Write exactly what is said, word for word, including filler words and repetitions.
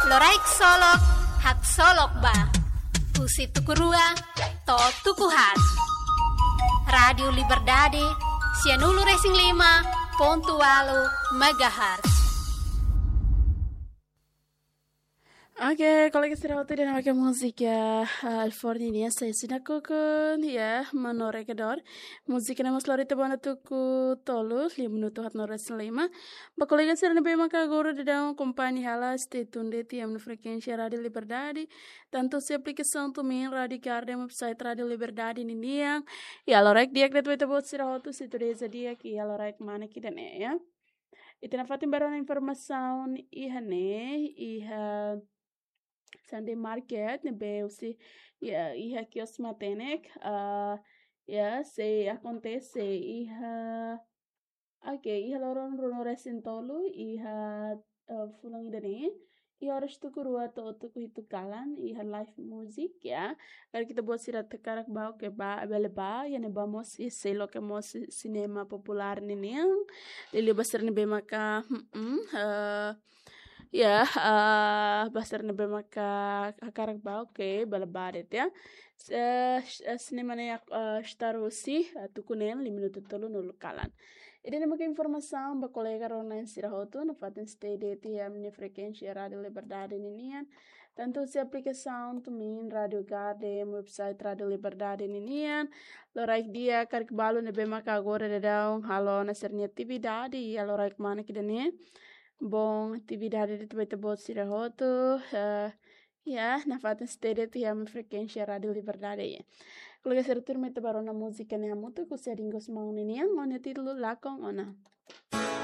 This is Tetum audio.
Loraik Solok, haksolok ba. Husi tuku rua to'o tuku haat. Rádiu Liberdade, sianulu-resin-lima pontu ualu megahertz. Oke, kolega sira hotu, ida-ne'e mak múzika, ah, Alforni nian, Sai Sina Kukun, ya, Mano Rekedor. Múzika ne'e mós lori tiha ona tuku tolu, lima minutu haatnulu-resin-lima. Ba kolega sira ne'ebé maka agora daudaun akompaña hela, stay tuned iha ami-nia frekuénsia Rádiu Liberdade. Tantu husi aplikasaun TuneIn, Rádiu Garden, website Rádiu Liberdade ninian. Ya, loraik di'ak de'it ba ita-boot sira hotu, sintonia di'ak, ya, loraik manas ida-ne'e, ya. Ita nafatin ba rona informasaun iha ne'e, iha Sunday Market, ne'ebé husi, ya, iha kios matenek, ah, ya, sei akontese iha, oke, iha loron ruanulu-resin-tolu, iha, eh, fulan ida-ne'e, iha oras tuku rua to'o tuku hitu kalan, iha live music, ya. Karik ita-boot sira hakarak bá, oke, bá, bele bá, iha ne'ebá mós, iha sei loke mós sinema populár ninian, liuliu ba sira ne'ebé maka, mm, eh, ya, eh, ba sira ne'ebé maka hakarak bá, oke, bele bá de'it, ya. Eh, s-, eh, sinema ne'e, eh, start husi, eh, tuku neen, lima minutu tolunulu kalan. Ida-ne'e mak informasaun ba kolega rona sira hotu, nafatin stay de'it iha ami-nia frekuénsia Rádiu Liberdade ninian. Tantu husi aplikasaun TuneIn, Rádiu Garden, website Rádiu Liberdade ninian. Loraik di'ak, karik balu ne'ebé maka agora daudaun halo ona sira-nia atividade, ya, loraik manas ida-ne'e. Bom atividade de'it ba ita-boot sira hotu, eh, ya, nafatin stay de'it iha ami-nia frekuénsia Rádiu Liberdade, ya. Kolega sira, tuirmai ita bá rona múzika ne'e hamutuk, husi Adin Gusmão ninian, ho nia títulu Lakon Ona.